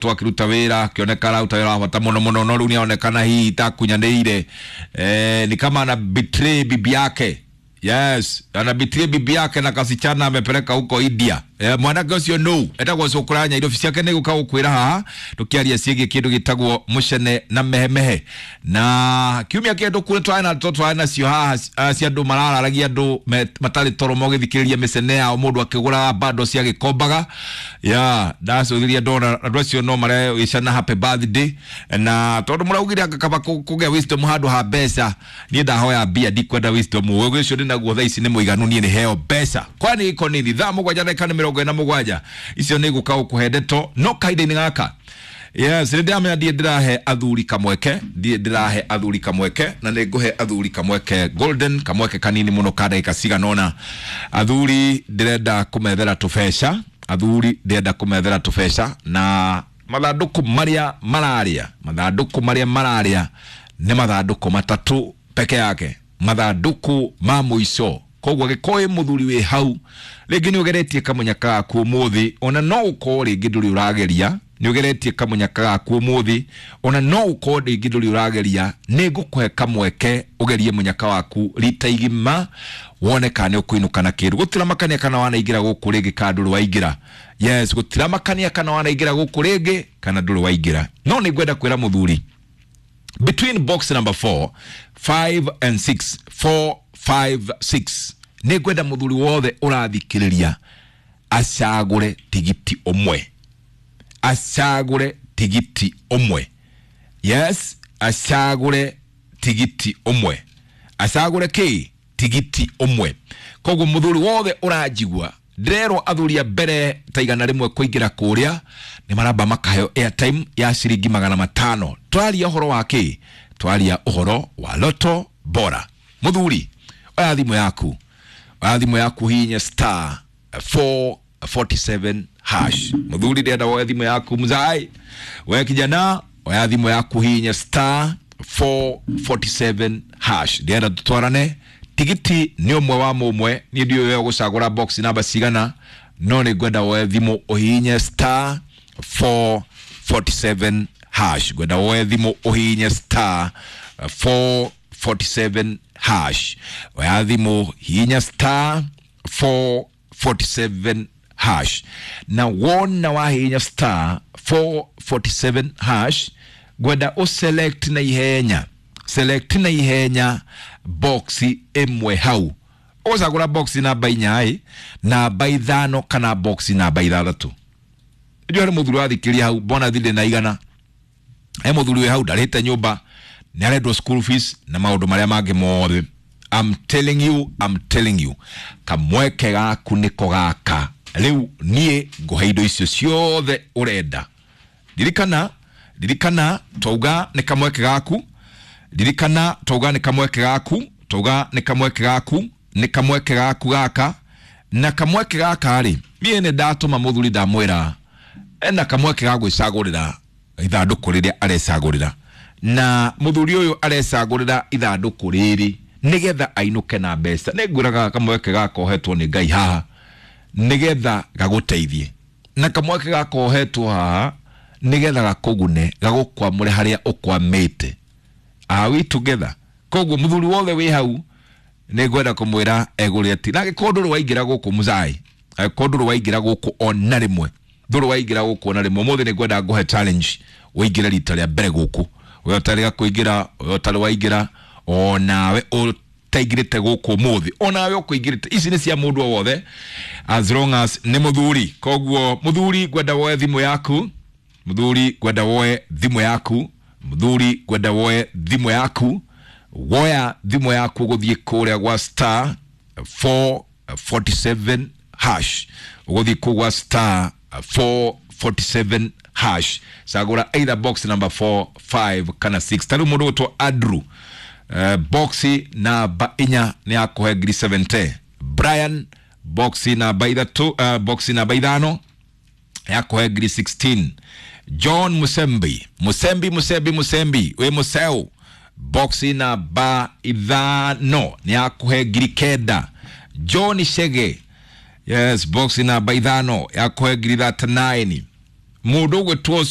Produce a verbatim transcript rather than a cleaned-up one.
Twakiruta wira akioneka araruta wira wa bata muno muno, no riu nionekana hihi takunyanĩire, eh, ni kama ana betray bibi yake. Yes, ana betray bibi yake na kasichana amepeleka huko India. Eh, mwanake ũcio no etagwo Cũkũranya irobi ciake nĩ gũka gũkwĩra haha tũkĩaria ciĩgiĩ kĩndũ gĩtagwo mũcene na mehemehe. Na kiumia kĩhetũku nĩ twarĩ na twarĩ nacio haha ah, cia andũ marararagia andũ matarĩ toro mogĩthikĩrĩria mĩcene yao, mũndũ akĩgũraga bando cia gĩkombaga ya ndacũthirie ndona andũ acio no marewĩcana happy birthday, na tondũ mũraugire anga kaba kũgĩa wisdom handũ ha mbeca, niĩ ndahoya mbia, ndikwenda wisdom. Ũgĩ ũcio ndĩnaguo thaa ici nĩ mũiganu, niĩ nĩ heo mbeca. Kwani iko nini? Thaa mũgwanja ndagĩka nĩ mĩrongo ĩna mũgwanja, icio nĩ gũka gũkũhe ndeto no kahinda-inĩ gaka. Yes, nĩ ndĩramenya ndiĩ ndĩrahe athuri kamweke, ndiĩ ndĩrahe athuri kamweke, na nĩ ngũhe athuri kamweke golden, kamweke kanini mũno ka ndagĩka cigana ũna. Athuri ndĩrenda kũmethera tũbeca, athuri ndĩrenda kũmethera tũbeca, na mathandũkũ marĩa mararĩa, mathandũkũ marĩa mararĩa nĩ mathandũkũ matatũ peke yake, mathandũkũ ma mũico. Koguo angĩkorwo wĩ mũthuri wĩ hau rĩngĩ nĩ ũgeretie kamũnyaka gaku ũmũthĩ, ona no ũkorwo rĩngĩ ndũrĩ ũrageria, nĩ ũgeretie kamũnyaka gaku ũmũthĩ, ona no ũkorwo rĩngĩ ndũrĩ ũrageria, nĩ ngũkũhe kamweke ũgerie mũnyaka waku rita igima wone kana nĩ ũkũinũka na kĩndũ. Gũtiramakania kana wanaingĩra gũkũ rĩngĩ kana ndũrĩ waingĩra. Yes, gũtiramakania kana wanaingĩra gũkũ rĩngĩ kana ndũrĩ waingĩra. No nĩ ngwenda kwĩra mũthuri, between box number four, five and six, four, five, six, nĩ ngwenda mũthuri wothe ũrathikĩrĩria acagũre tigiti ũmwe, acagũre tigiti ũmwe. Yes, acagũre tigiti ũmwe, acagũre kĩ? Tigiti ũmwe. Koguo mũthuri wothe ũranjigua, ndĩrerwo athuri a mbere ta igana rĩmwe kũingĩra kũrĩa nĩ maramba makaheo airtime ya ciringi magana matano. Twaria ũhoro wa kĩ? Twaria ũhoro wa Loto Bora. Mũthuri, oya thimũ yaku, oya thimũ yaku, hihinya star four forty-seven hash. Mũthuri, ndĩrenda woe thimũ yaku. Mzai we kijana, oya thimũ yaku, hihinya star four forty-seven hash. Ndĩrenda tũtwarane tigiti nĩ ũmwe wa mũmwe, niĩ ndiũĩ we ũgũcagũra box namba cigana, no nĩ ngwenda woe thimũ ũhihinye star four forty-seven hash. Ngwenda woe thimũ ũhihinye star four forty-seven hash. Oya thimũ, hihinya star four forty-seven hash, na wona wahihinya star four forty-seven hash, ngwenda ũselect na ihenya, select na ihenya box ĩmwe hau. Ũgũcagũra box namba inya ĩ, namba ithano kana box namba ithathatũ. Ndiũĩ harĩ mũthuri wathikĩria hau mbona thirĩ na igana, he mũthuri wĩ hau ndarĩhĩte nyũmba, nĩ arendwo school fees na maũndũ marĩa mangĩ mothe. I'm telling you, I'm telling you, kamweke gaku nĩko gaka rĩu. Niĩ ngũhe indo icio ciothe ũrenda. Ririkana, ririkana twauga nĩ kamweke gaku, ririkana twauga nĩ kamweke gaku, twauga nĩ kamweke gaku, nĩ kamweke gaku gaka. Na kamweke gaka rĩ, niĩ nĩ ndatũma mũthuri ndamwĩra ena kamweke ga gwĩcagũrĩra ithandũkũ rĩrĩa arecagũrĩra, na mũthuri ũyũ arecagũrĩra ithandũkũ rĩrĩ nĩgetha ainũke na mbeca. Nĩ ngwĩraga kamweke gaka ohetwo nĩ Ngai haha nĩgetha gagũteithie, na kamweke gaka ohetwo haha nĩgetha gakũgune, gagũkwamũre harĩa ũkwamĩte. Are we together? Koguo mũthuri wothe wĩ hau nĩ ngwenda kũmwĩra egũrĩre ti, na angĩkorwo ndũrĩ waingĩra gũkũ mũzai, angĩkorwo ndũrĩ waingĩra gũkũ ona rĩmwe, ndũrĩ waingĩra gũkũ ona rĩmwe, ũmũthĩ nĩ ngwenda ngũhe challenge ũingĩre rita rĩa mbere gũkũ. We ũtarĩ kũingĩra, we ũtarĩ waingĩra, onawe ũtaingĩrĩte gũkũ ũmũthĩ, onawe ũkũingĩrĩte, ici nĩ cia mũndũ o wothe as long as nĩ mũthuri. Koguo mũthuri, ngwenda woe thimũ yaku, mũthuri ngwenda woe thimũ yaku, mũthuri ngwenda woe thimũ yaku. Woya thimũ yaku ũgũthiĩ kũrĩa gwa star four forty-seven hash, ũgũthiĩ kũu gwa star four forty-seven hash, cagũra either box number four, five kana six. Ta rĩu mũndũ ũgwĩtwo Andrew, uh, box namba inya nĩ akũhe ngiri seventy. Brian, box namba ithatũ, uh, box namba ithano yakũhe ngiri sixteen. John Musembi, Musembi, Musembi, Musembi, wĩ Museu, box namba ithano nĩ akũhe ngiri kenda. John Shege, yes, box namba ithano yakũhe ngiri thirty-nine. Mundu ugwitwo.